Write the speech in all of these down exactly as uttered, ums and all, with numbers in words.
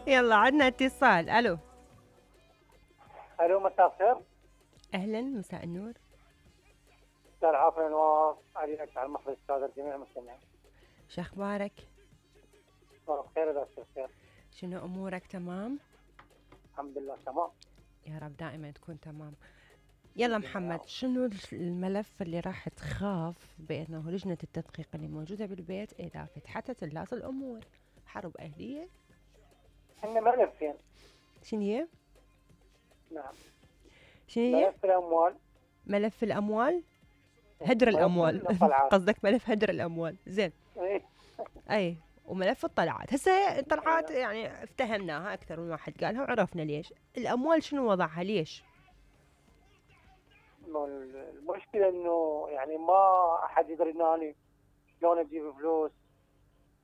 يلا عندنا اتصال. الو الو مساء الخير. اهلا مساء النور. استاذ عافية نواف عليك على المحفظ السادة جميع المستمعين. شو اخبارك؟ بخير اذا بخير. شنو امورك؟ تمام الحمد لله تمام. يا رب دائما تكون تمام. يلا محمد، شنو الملف اللي راح تخاف بانه لجنة التدقيق اللي موجودة بالبيت اذا فتحتها تلاص الامور؟ حرب اهلية؟ عندنا ملفين. شنو هي؟ نعم. شنو هي؟ ملف الاموال. ملف الاموال؟ هدر الاموال قصدك ملف هدر الاموال. زين. اي وملف الطلعات. هسه الطلعات يعني افتهمناها اكثر من واحد قالها وعرفنا ليش. الاموال شنو وضعها؟ ليش؟ المشكله انه يعني ما احد يدري اني شلون اجيب فلوس.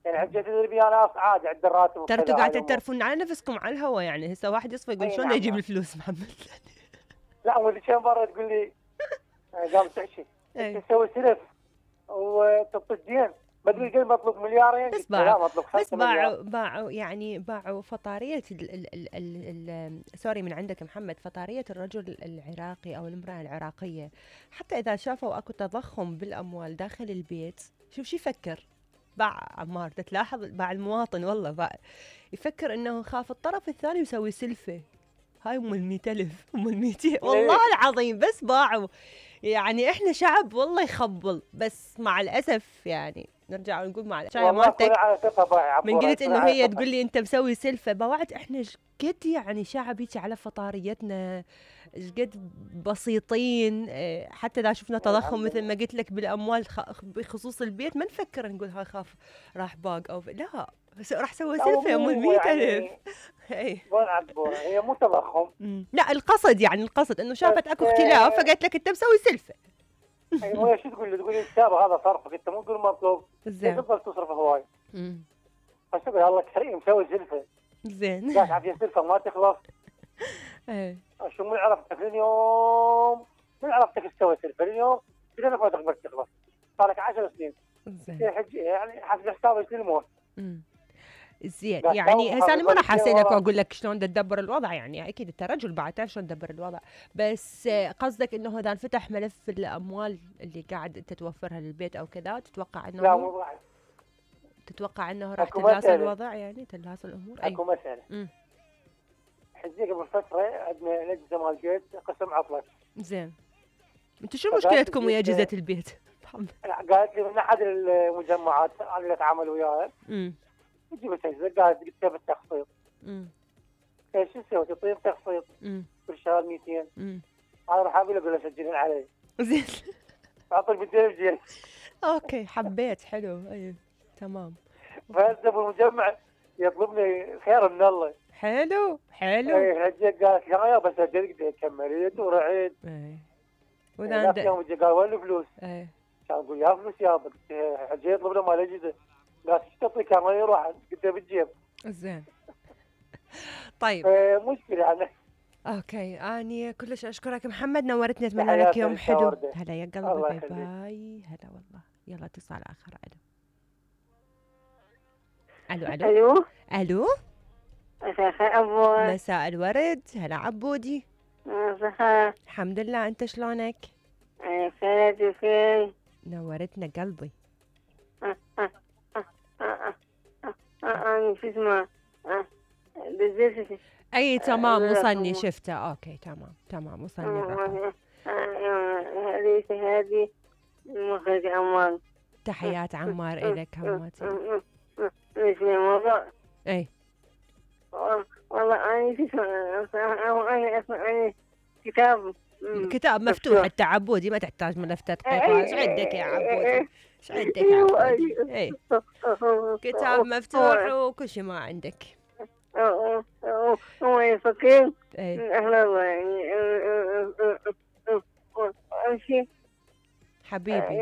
يعني حجه تدري بي انا عادي عند الراتب. ترى انتوا قاعدين ترفون على نفسكم على الهوا. يعني هسه واحد يصفى يقول شلون نعم يجيب نعم. الفلوس محمد. لا ولي كم مره تقول لي قام تحشي تسوي سلف وتبطي الدين. ما ادري قد مطلوب مليارين. بس باعوا بس باعوا باعوا يعني باعوا فطاريه ال ال ال ال ال سوري من عندك محمد، فطاريه الرجل العراقي او المراه العراقيه. حتى اذا شافوا اكو تضخم بالاموال داخل البيت، شوف شو يفكر. باع عمار تلاحظ، باع المواطن والله باع يفكر انه خاف الطرف الثاني يسوي سلفه. هاي ام المئة ألف ام المئتين والله العظيم بس باعوا. يعني احنا شعب والله يخبل، بس مع الاسف يعني نرجع ونقول مع الشاي مالتك من قلت انه هي تقول لي انت مسوي سلفه باوعد. احنا ايش قد يعني شعب هيك على فطاريتنا، ايش قد بسيطين. حتى اذا شفنا تضخم مثل ما قلت لك بالاموال بخصوص البيت ما نفكر نقول هاي خاف راح باق او لا، بس راح سوي سلفه ام المئة ألف. اي هي مو تضخم. لا القصد يعني القصد انه شافت اكو اختلاف فقالت لك انت مسوي سلفه. ايوه شو تقول لي؟ تقول لي الكتابه هذا صرفك انت مو تقول مطلوب. زين تفضل تصرف هواي. بس تقول الله كريم مسوي سلفه. زين قاعد عافيه سلفه ما تخلص. ايه شو من عرفتك اليوم؟ من عرفتك تسوي سلفه اليوم؟ اذا ما تقدر تخلص صار لك عشر سنين. زين يعني حسب حسابك للموت. زين يعني هسه انا ما راح اسالك واقول لك شلون تدبر الوضع. يعني اكيد انت رجل بعد تعرف شلون تدبر الوضع، بس قصدك انه اذا انفتح ملف الاموال اللي قاعد انت توفرها للبيت او كذا تتوقع انه لا مو راح تتوقع انه راح تلاص الوضع يعني تلاص الامور؟ اي اكو مساله. حجي قبل فتره عندنا الاجهزه مال البيت قسم عطلت. زين انتم شو مشكلتكم ويا اجهزه البيت؟ قالت لي من احد المجمعات انا اللي اتعامل وياها امم جبت اجهزه قالت قلت لها بالتخفيض. امم ايش تسوي؟ تعطيني تخفيض كل شهر مئتين. امم انا راح اقول له سجلين علي. زين اعطيك مئتين جنيه. اوكي حبيت حلو. اي تمام. فهذا ابو المجمع يطلبني خير من الله. حلو حلو. اي حجه قالت لي يا بس سجلت كملت ورعيت. اي وذا عند يوم جا قال وين الفلوس؟ اي كان اقول يا فلوس يا حجه يطلب له مال الاجهزه. قالت ايش تعطيك كان يروح قلت له بالجيب. زين طيب مشكله يعني. اوكي اني كلش اشكرك محمد، نورتني، اتمنى لك يوم حلو. هلا يا قلبي باي باي. هلا والله. يلا اتصال اخر. الو الو الو الو مساء الخير عبود. مساء الورد. هلا عبودي. مساء الحمد لله، انت شلونك؟ بخير بخير. نورتنا قلبي. انا شو اسمه اي تمام وصلني شفته. اوكي تمام تمام وصلني الرقم. هذه هذه مخرج عمار. تحيات عمار الك هماتي. ايش الموضوع؟ اي والله انا شو اسمه انا اسمع كتاب كتاب مفتوح. انت عبودي ما تحتاج ملف تدقيق. ايش عندك يا عبودي؟ ايش عندك يا عبودي؟ اي كتاب مفتوح وكل شيء ما عندك. هو يفكر اي احنا يعني امشي حبيبي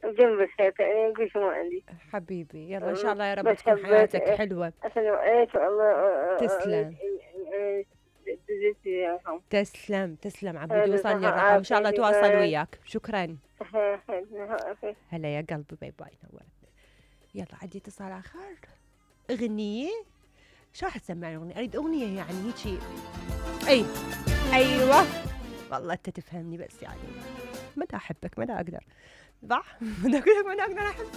جنب الشيء كل شيء ما عندي حبيبي. يلا ان شاء الله يا رب تكون حياتك حلوه. السلام عليكم. الله تسلم تسلم تسلم عبودي. وصلني الرقم ان شاء الله تواصل وياك. شكرا. هلا يا قلبي باي باي. نورت. يلا عندي اتصال اخر. اغنيه شو راح تسمعني اغنيه؟ اريد اغنيه يعني هيجي. اي ايوه والله انت تفهمني، بس يعني ما دا احبك، ما دا اقدر. صح؟ ما دا اقول لك ما دا اقدر احبك.